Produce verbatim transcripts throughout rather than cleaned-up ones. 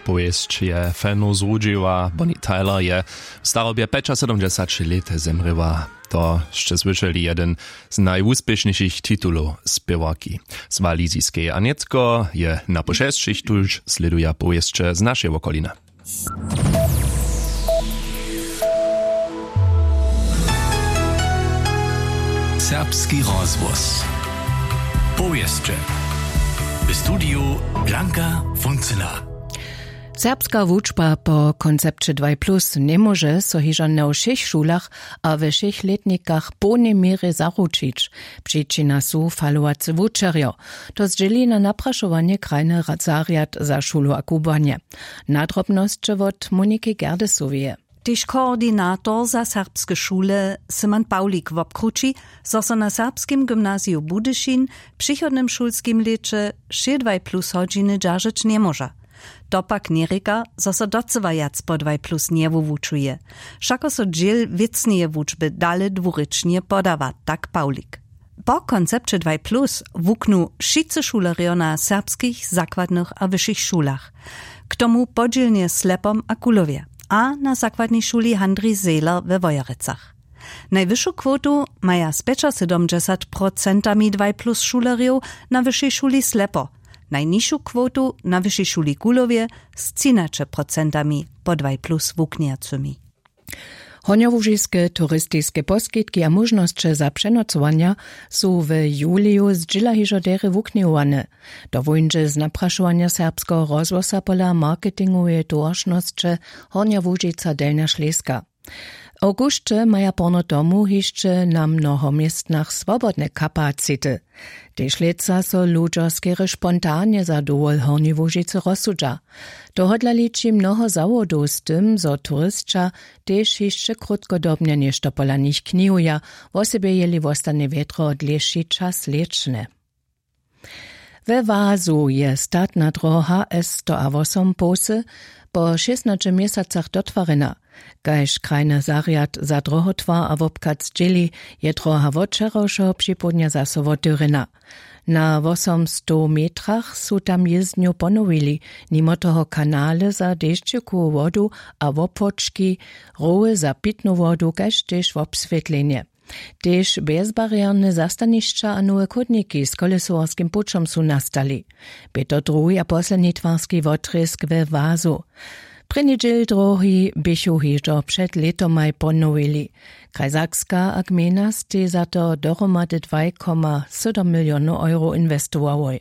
Powěsć je feno zrudźiła. Bonnie Tyler je w starobje pjećasydomdźesać lět zemrěła. To sće słyšeli, jeden z najwuspěšnišich titulow spěwarki z waliziskej. A nětko je na po šesćich tuž slěduja powěsće z našej wokoliny. Serbski rozhłos. Powěsće. W studiju Blanka Funcyna. Serbska wučba po koncepće dwaj plus njemóže so hižo na wšěch šulach a we wšěch lětnikach w połnej měrje zaručić. Přičina su falowacy wučerjo. To zdźěli na naprašowanje krajny ra- zarjad za šulu a kubłanje. Nadrobnosće wot Moniki Gerdesoweje. Tež koordinator za serbske šule Simon Pawlik wobkrući, zo so na Serbskim gymnaziju Budyšin w přichodnym šulskim lěće wšě dwaj plus hodźiny dźeržeć njemóža. To pak njerěka, zo so docyła wjac po dwaj plus njewuwučuje. Wšako so dźěl wěcneje wučby dale dwurěčnje podawa, tak Pawlik. Po koncepće dwaj plus wuknu wšitcy šulerjo na serbskich zakładnych a wyšich šulach. K tomu podźělnje w Slepom a Kulowje a na zakładnej šuli Handrij Zehler we Wojerecach. Najwyšu kwotu maja z pjećasydomdźesat procentami dwaj plus šulerjow na wyšej šuli Slepo, najnižšu kwotu na wyšej šuli Kulowje z třinaće procentami po dwaj plus wuknjacymi. Hornjołužiske turistiske poskitki a móžnosće za přenocowanja su w juliju zdźěla hižo derje wuknjowane. To wóńdźe z naprašowanja serbskeho rozhłosa pola marketingoweje towaršnosće Hornja Łužica Delnja Šleska. W awgusće maja porno tomu hišće na mnoho městnach swobodne kapacity. Tež lětsa so ludźo skerje spontanje za dowol Hornjeje Łužicy rozsudźa. Tohodla liči mnoho zawodow z tym, zo turisća tež hišće krótkodobnje něšto pola nich knihuja, wosebje jeli wostanje wjedro dlěši čas lěćne. We Wazu je statna droha S sto a wosompołsy po šěstnaće měsacach dotwarjena. Kaž krajny zarjad za drohotwar a wobchad zdźěli, je droha wot wčerawšeho připołdnja zaso wotewrjena. Na wosomstow metrach su tam jězdnju ponowili, nimo toho kanale za dešćikowu wodu a wopłočki, rowy za pitnu wodu kaž tež wobswětlenje. Tež bjezbarierne zastanišća a nowe chódniki z kolesowarskim pućom su nastali. Bě to druhi a posledni twarski wotrězk we Wazu. Prěni dźěl drohi běchu hižo před lětomaj ponowili. Kraj Sakska a gmejna stej za to dohromady dwaj koma sydom milionow euro inwestowałoj.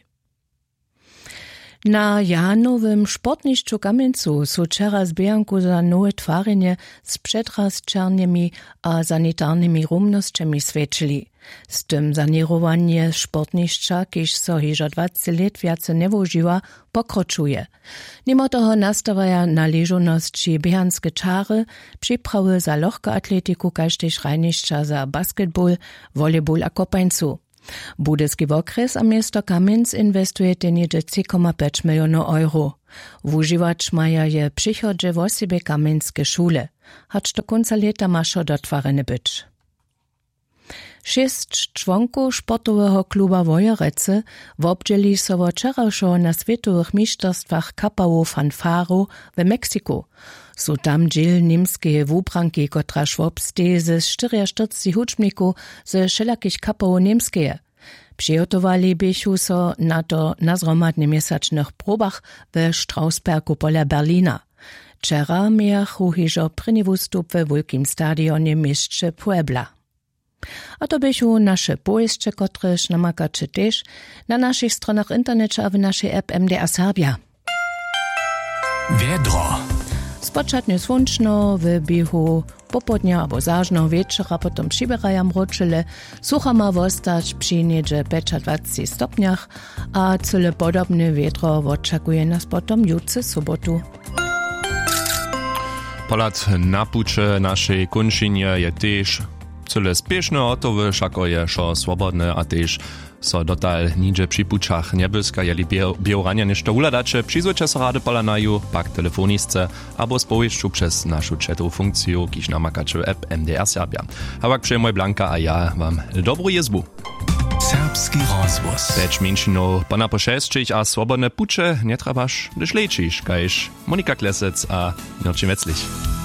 Na Janowym sportnišću w Kamjencu su wčera zběhanku za nowe twarjenje z předrasćernymi a sanitarnymi rumnosćemi swjećili. Z tym saněrowanje sportnišća, kiž so hižo dwaceći lět wjace njewužiwa, pokročuje. Nimo toho nastawaja na ležownosći běhanske čary, připrawy za lochkoatletiku kaž tež hrajnišća za basketball, volejball a kopańcu. Budyski wokrjes a město Kamjenc inwestujetej něhdźe tři koma pjeć milionow euro. Wužiwać maja je w přichodźe wosebje kamjenske šule. Hač do kónca lěta ma wšo dotwarjene być. Šěsć čłonkow sportoweho kluba Wojerecy wobdźěli so wot wčerawšeho na swětowych mišterstwach kapałow fanfarow w Meksiku. Su tam dźěl němskeje wubranki, kotraž wobsteji ze štyriaštyrceći hudźbnikow ze wšelakich kapow Němskeje. Přihotowali běchu so na to na zhromadnjeměsačnych probach we Strausbergu pola Berlina. Wčera mějachu hižo prěni wustup we wulkim stadionje w měsće Puebla. A to běchu naše powěsće, kotrež namakaće tež na našich stronach w interneće a w našej app M D R Serbja. Wjedro. Spočatnje słónčno, w běhu popołdnja abo zažneho wječora potom přiběraja mróčele. Sucho ma wostać při něhdźe pjećadwaceći stopnjach a cyle podobne wjedro wočakuje nas potom jutře sobotu. Pohlad na puće w našej kónčinje je tež cyle spěšny, hotowy, wšako je wšo swobodne a tež so dotal nihdźe při pućach njebłyska. Jeli bě-, běhu ranja něšto wuhladaće, přizwójće so rady pola naju, pak telefonisce abo z powěsću přez našu chatowu funkciju, kiž namakaće w app M D R Serbja. A pak přejemoj Blanka a ja wam dobru jězbu. Serbski rozhłos. Pjeć mjeńšinow ponapošesćich a swobodne puće njetrjebaš, hdyž lećiš kaž monika klesec a mirčin weclich.